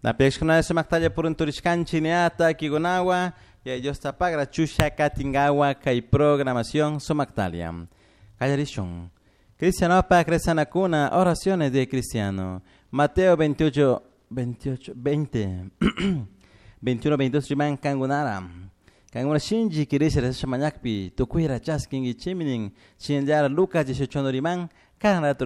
Napiyashkuna sumaktalla purunturishkanchik niata kikunawa ya Dios tapagra chusha katingawa kay programación sumaktalia. Kallarishun. Cristianopa cristianakuna oraciones de cristiano. Mateo 28 28 20 21 22 riman kangunara. Kanguna shinji kirisha resha mañakpi tukuyra chaskingi chiminin chinllara Lucas 18 riman kan ratu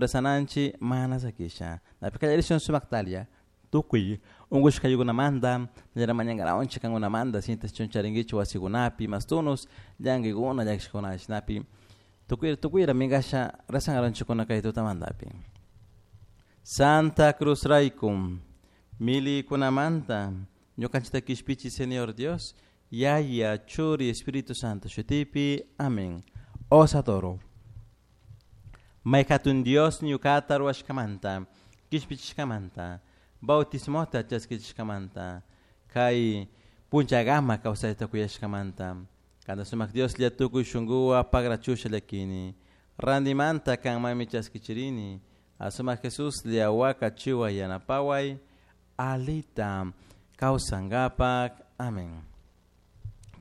mana sakisha. Napikallarishun sumaktalia. Tukuy ungushkaykunamanta nallara mañankarawanchik kankunamanta sintas charinkichik wasikunapi mastunus llankikuna llakishkuna shinapi tukuy tukuyra minkasha rezankaranchikkuna kay tutamantapi. Santa Cruz rayku milikunamanta ñukanchikta kishpichi Señor Dios Yaya Churi Espíritu Santo shutipi amén. Os adoro. Mayhatun Dios ñukata ruwashkamanta kishpichishkamanta bautismota chaskichishkamanta kay punchagama kawsayta kuyashkamanta kanta sumak Dios tukuy shunkuwan pagrachusha llakini randimanta kanmanmi chaskichirini asumak Jesus waka chiwa yanapaway alita kawsankapak amén.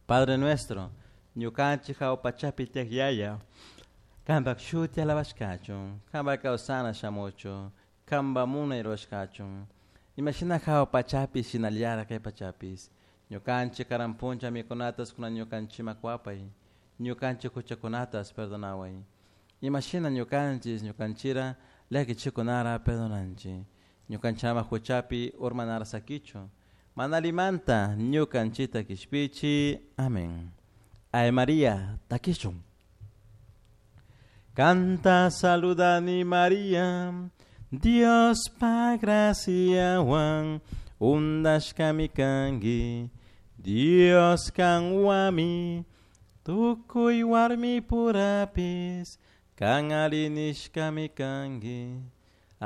Padre nuestro ñukanchik hawa pachapi tiyak yaya kanpak shuti alabashkachun kanpak kawsana shamuchun kanpak munay rurashkachun imashina hawa pachapi shinallara kay pachapis ñukanchik karan puncha mikunatas kunan ñukanchikman kuwapay ñukanchik huchakunatas perdonaway imashina ñukanchik ñukanchira llakichikunara perdonanchik ñukanchikama huchapi urmanara sakichun mana alimanta ñukanchikta kishpichi amén. Ave María takishun Canta saludani María Dios pa graciawan undashkami kanki Dios kanwami tukuy warmi purapis kan ari nishkami kanki.